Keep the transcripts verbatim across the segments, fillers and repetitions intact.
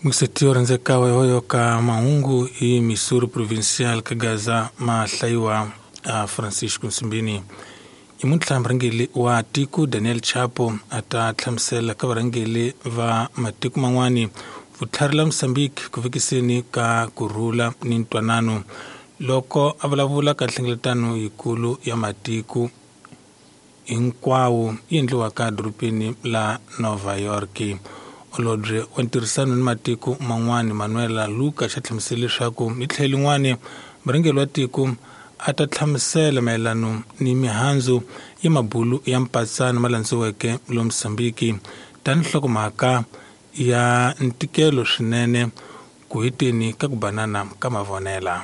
Mixetio rhandzeka wa yoyo ka mahungu hi Missouri Provincial ka Gaza mahlayiwa a Francisco Nsimbini. Nyamuntlha murhangeri wa tiko Daniel Chapo a ta hlamusela ka varhangeri va matiko man'wani vutlhari la Mozambique ku vekiseni ka kurhula ni ntwanano loko a vulavula ka nhlengeletano yikulu ya matiko hinkwawo yi endliwaka edorobeni la Nova York. Holobye wa ntirhisano ni matiko man'wani Manuela Luka xa hlamusela leswaku hi tlhelo lin'wani murhangeri wa tiko a ta hlamusela mayelano ni mihandzu ya mabulu ya mpatsano ma landziweke lo Mozambique tani nhlokomhaka ya ntikelo swinene ku heteni ka ku banana ka mavonela.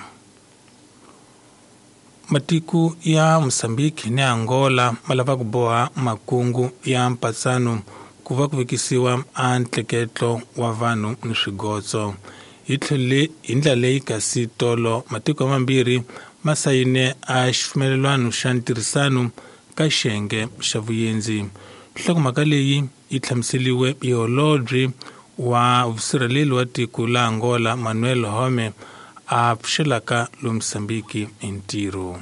Matiko ya Mozambique ni Angola ma lava ku boha makungu ya mpatsano ku va ku vekisiwa a ntleketlo wa vanhu ni swigotso. Hi tlhelo hi ndlela leyi kasi tolo matiko mambirhi ma sayine a xipfumelelwano xa ntirhisano ka xiyenge xa vuyendzi. Nhlokomhaka leyi yi hlamuseriwe hi holobye wa vusirheleli wa tiko la Angola Manuel Home a pfuxelaka lo Mozambique hi ntirho.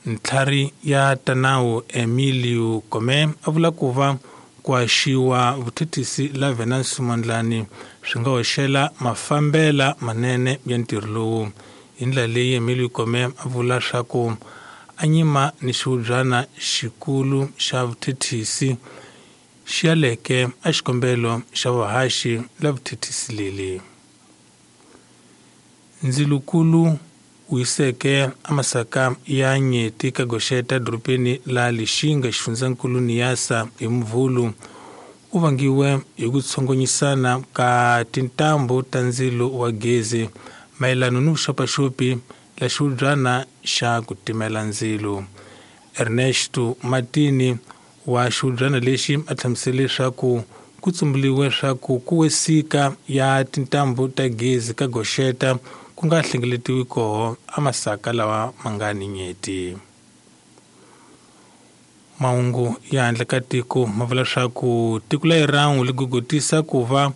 Ntlhari ya Tanawu Emilio Kome a vula ku va ku haxiwa vuthethisi la Venancio Mondlane swi nga hoxela mafambela manene ya ntirho lowu. Hi ndlela leyi Emilio Kome a vula swa ku a nyima ni xihubyana xikulu xa vuthethisi xi yaleke a xikombelo xa vuhaxi la vuthethisi leli. Ndzilukulu wu yiseke a masaka ya nyeti ka goxeta edorobeni la Lixinga xifundzankulu Niassa hi Muvhulu u vangiwe hi ku tshongonyisana ka tintambu ta ndzilo wa gezi mayelano ni vuxopaxopi la xihubyana xa ku timela ndzilo. Ernesto Martini wa xihubyana lexi a hlamusele leswaku ku tsumbuliwe swa ku ku wesika ya tintambu ta gezi ka goxeta ku nga hlengeletiwi koho a masaka lawa ma nga ni nyeti. Mahungu ya handle ka tiko ma vula swa ku tiko la Iran li gogotisa ku va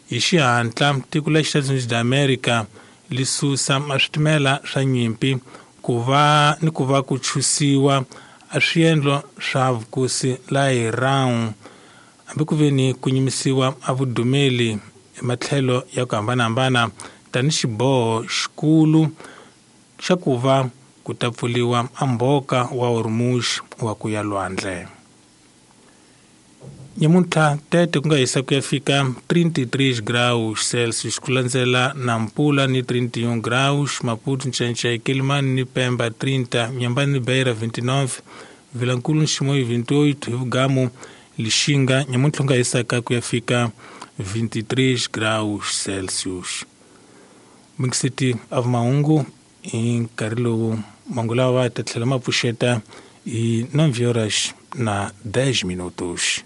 hi xihatla tiko la Estados Unidos da America li susa a switimela swa nyimpi ku va ni ku va ku chusiwa a swiendlo swa vukosi la Iran hambi ku ve ni ku nyimisiwa a vudumeli hi matlhelo ya ku hambanahambana tani xiboho xikulu xa ku va ku ta pfuliwa a mbhoka wa Hormuz wa ku ya lwandle. Nyamuntlha tete ku nga hisa ku ya fika trinta e três graus Celsius ku landzela Nampula ni trinta e um graus, Maputo, Nchanchay, Quelimane ni Pemba trinta, Inhambane ni Beira vinte e nove, Vilankulu ni Chimoio vinte e oito, hi Vugamu Lixinga nyamuntlha ku nga hisaka ku ya fika vinte e três graus Celsius. Mixeti av mahungu hi nkarhi lowu mahungu lawa ta tlhela ma pfuxeta hi nove horas na dez minutos.